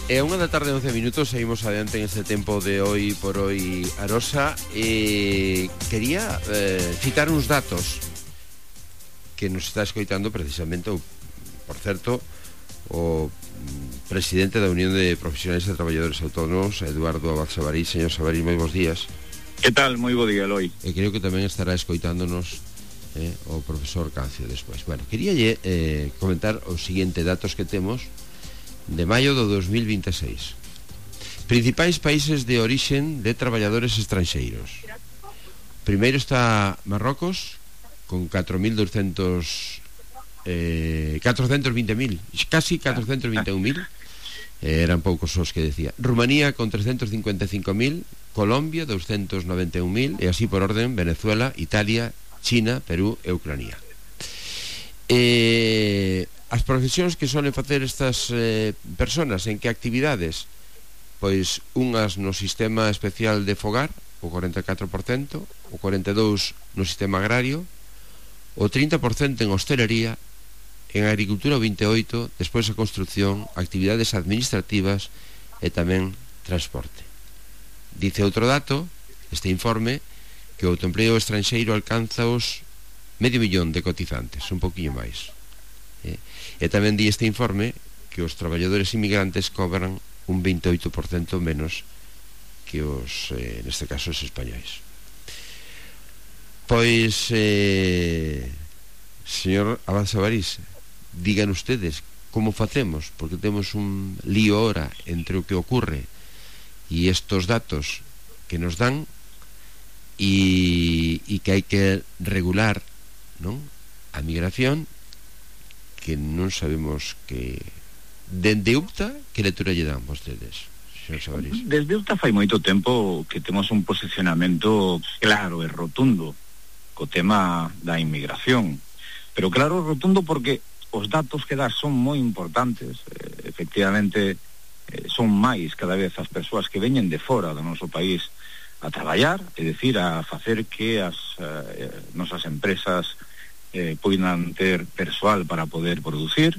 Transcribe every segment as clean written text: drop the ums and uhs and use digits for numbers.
É 1:11 seguimos adiante en este tempo de hoy por hoy Arosa. Quería citar uns datos que nos está escoitando precisamente, por certo, o presidente da Unión de Profesionais e Traballadores Autónomos, Eduardo Abad Sabarís. Señor Sabarís, moi bons días. Que tal? Moi bo día, Eloi. E creo que tamén estará escoitándonos o profesor Cancio despois. Bueno, quería comentar os seguinte datos que temos de maio do 2026. Principais países de orixen de traballadores estranxeiros. Primeiro está Marrocos, con 420.000, casi 421.000. Eran poucos os que decía. Rumanía con 355.000, Colombia 291.000, e así por orden: Venezuela, Italia, China, Perú e Ucrania. As profesións que solen facer estas personas, en que actividades? Pois unhas no sistema especial de fogar, o 44%, o 42% no sistema agrario, o 30% en hostelería, en agricultura o 28%, despois a construcción, actividades administrativas e tamén transporte. Dice outro dato, este informe, que o autoempleo estranxeiro alcanza os 500.000 de cotizantes, un poquinho máis. E tamén di este informe que os traballadores inmigrantes cobran un 28% menos que os, neste caso, os españois. Pois, señor Abad Sabarís, digan ustedes como facemos, porque temos un lío ahora entre o que ocurre e estos datos que nos dan, e que hai que regular, non, a migración, que non sabemos que dende UPTA que lectura lle dan vostedes, señor Sabarís. Desde UPTA fai moito tempo que temos un posicionamento claro e rotundo co tema da inmigración, pero claro e rotundo porque os datos que das son moi importantes. Efectivamente, son máis cada vez as persoas que veñen de fora do noso país a traballar, é dicir, a facer que as nosas empresas poidan ter persoal para poder producir,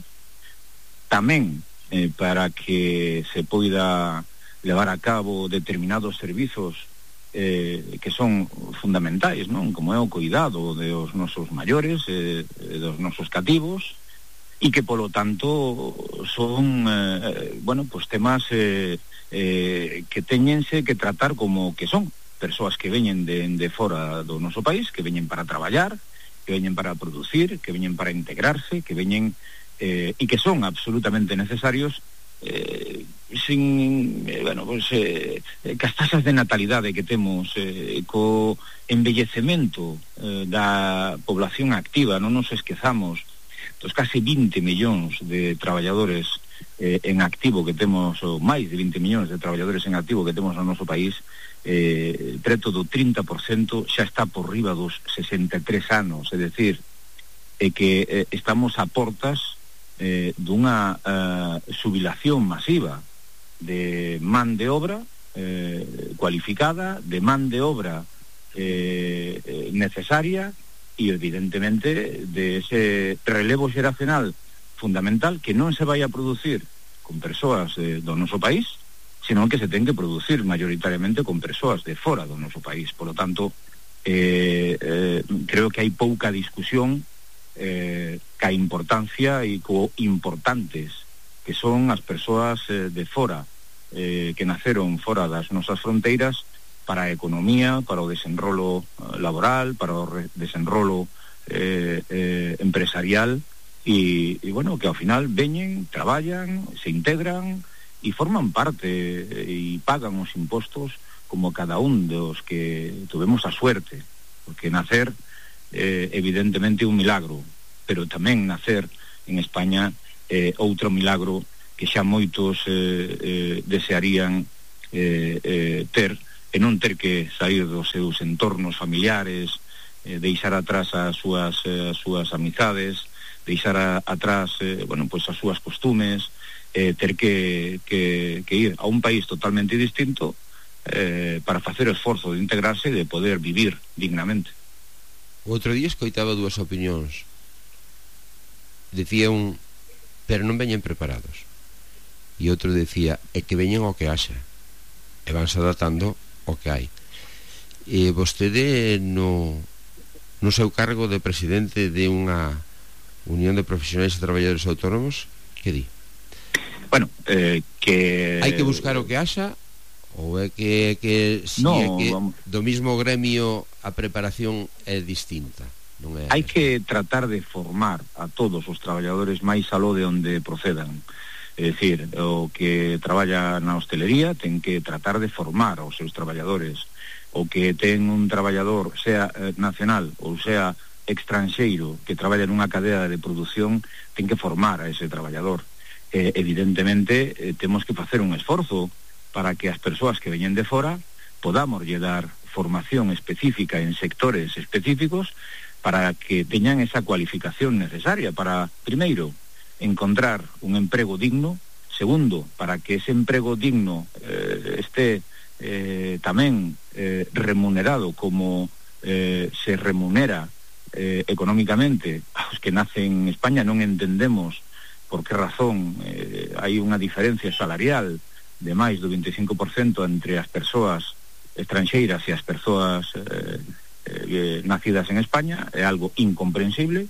tamén para que se poida levar a cabo determinados servizos que son fundamentais, non? Como é o cuidado dos nosos maiores, dos nosos cativos, e que polo tanto son pues temas que teñense que tratar como que son persoas que veñen de fora do noso país, que veñen para traballar, que veñen para producir, que veñen para integrarse, que veñen e que son absolutamente necesarios, cas tasas de natalidade que temos, co embellecemento da población activa. Non nos esquezamos dos casi 20 millóns de traballadores en activo que temos, ou máis de 20 millóns de traballadores en activo que temos no noso país. Preto do 30% xa está por riba dos 63 anos, é dicir, que estamos a portas dunha xubilación masiva de man de obra cualificada, de man de obra necesaria, e evidentemente de ese relevo xeracional fundamental que non se vai a producir con persoas do noso país, senón que se ten que producir mayoritariamente con persoas de fora do noso país. Por lo tanto, creo que hai pouca discusión ca importancia e co importantes que son as persoas de fora, que naceron fora das nosas fronteiras, para a economía, para o desenrolo laboral, para o desenrolo empresarial, e bueno, que ao final veñen, traballan, se integran e forman parte e pagan os impostos como cada un dos que tuvemos a suerte, porque nacer evidentemente un milagro, pero tamén nacer en España outro milagro que xa moitos desearían ter, e non ter que sair dos seus entornos familiares, deixar atrás as súas amizades, deixar atrás as súas costumes, ter que ir a un país totalmente distinto para facer o esforzo de integrarse e de poder vivir dignamente. O outro día escoitaba dúas opinións. Decía un, pero non veñen preparados. e outro decía, é que veñen o que haxa, e vanse adaptando o que hai. E vostede no seu cargo de presidente de unha unión de profesionais e traballadores autónomos, que di? Bueno, que... Hai que buscar o que haxa, ou é que si no, é que do mismo gremio a preparación é distinta? Non é? Hai que tratar de formar a todos os traballadores máis aló de onde procedan. É dicir, o que traballa na hostelería ten que tratar de formar aos seus traballadores. O que ten un traballador, sea nacional ou sea extranxeiro, que traballa nunha cadea de produción, ten que formar a ese traballador. Evidentemente, temos que facer un esforzo para que as persoas que veñen de fora podamos lle dar formación específica en sectores específicos para que teñan esa cualificación necesaria para, primeiro, encontrar un emprego digno, segundo, para que ese emprego digno esté tamén remunerado como se remunera económicamente aos que nacen en España. Non entendemos por que razón hai unha diferencia salarial de máis do 25% entre as persoas estranxeiras e as persoas nacidas en España. É algo incomprensible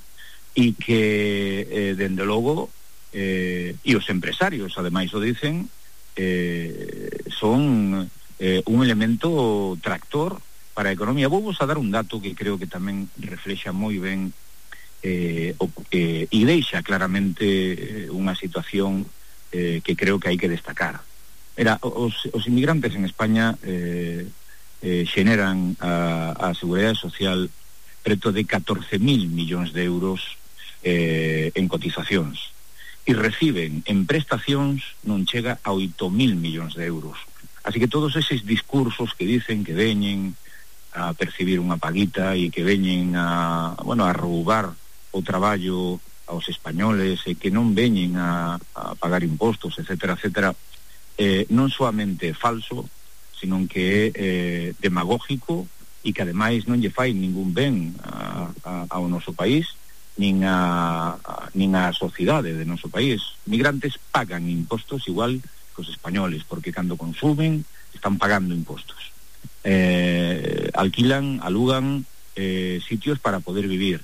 e que, dende logo, e os empresarios, ademais o dicen, son un elemento tractor para a economía. Vou vos a dar un dato que creo que tamén reflexa moi ben e deixa claramente unha situación que creo que hai que destacar. Os inmigrantes en España xeneran a Seguridade Social preto de 14.000 millóns de euros en cotizacións, e reciben en prestacións non chega a 8.000 millóns de euros. Así que todos eses discursos que dicen que veñen a percibir unha paguita e que veñen a roubar o traballo aos españoles e que non veñen a pagar impostos, etcétera, etcétera, non soamente é falso, sino que é demagógico e que ademais non lle fai ningún ben ao noso país nin a sociedade de noso país. Migrantes pagan impostos igual que os españoles, porque cando consumen están pagando impostos. Alquilan, alugan sitios para poder vivir.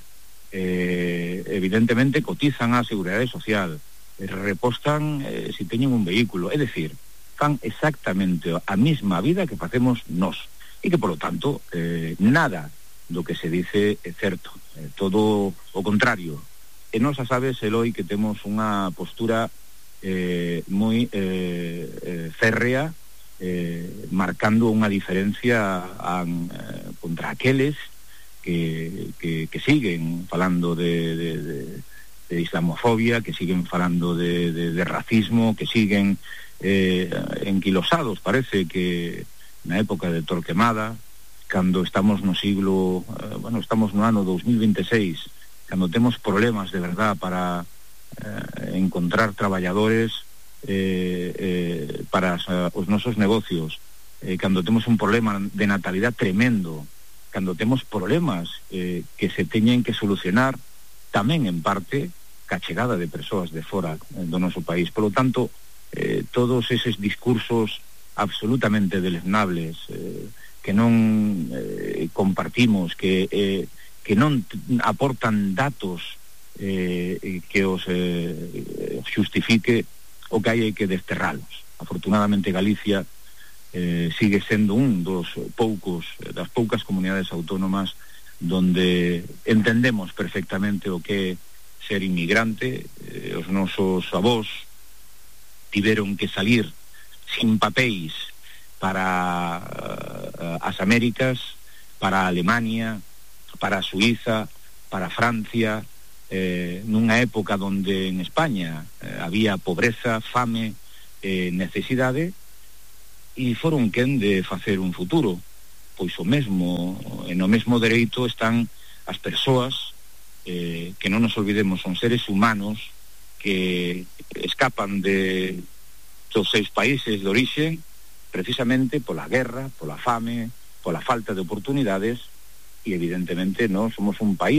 Evidentemente cotizan á Seguridade Social, repostan se teñen un vehículo, é dicir, fan exactamente a mesma vida que facemos nós, e que, polo tanto, nada do que se dice é certo, todo o contrario. E nós a sabes, Eloi, que temos unha postura moi férrea, marcando unha diferencia contra aqueles que siguen falando de islamofobia, que siguen falando de racismo, que siguen enquilosados, parece que na época de Torquemada, cando estamos no siglo, estamos no ano 2026, cando temos problemas de verdad para encontrar traballadores para os nosos negocios, cando temos un problema de natalidade tremendo, cando temos problemas que se teñen que solucionar tamén en parte ca chegada de persoas de fora do noso país. Por lo tanto, todos eses discursos absolutamente deleznables que non compartimos, que non aportan datos que os xustifique, o que hai que desterralos. Afortunadamente Galicia sigue sendo das poucas comunidades autónomas donde entendemos perfectamente o que é ser inmigrante. Os nosos avós tiveron que salir sin papéis para as Américas, para Alemania, para Suiza, para Francia, nunha época donde en España había pobreza, fame, necesidade, e foron quen de facer un futuro. Pois o mesmo, no mesmo dereito están as persoas que non nos olvidemos, son seres humanos que escapan dos seus países de orixe precisamente pola guerra, pola fame, pola falta de oportunidades, e evidentemente non somos un país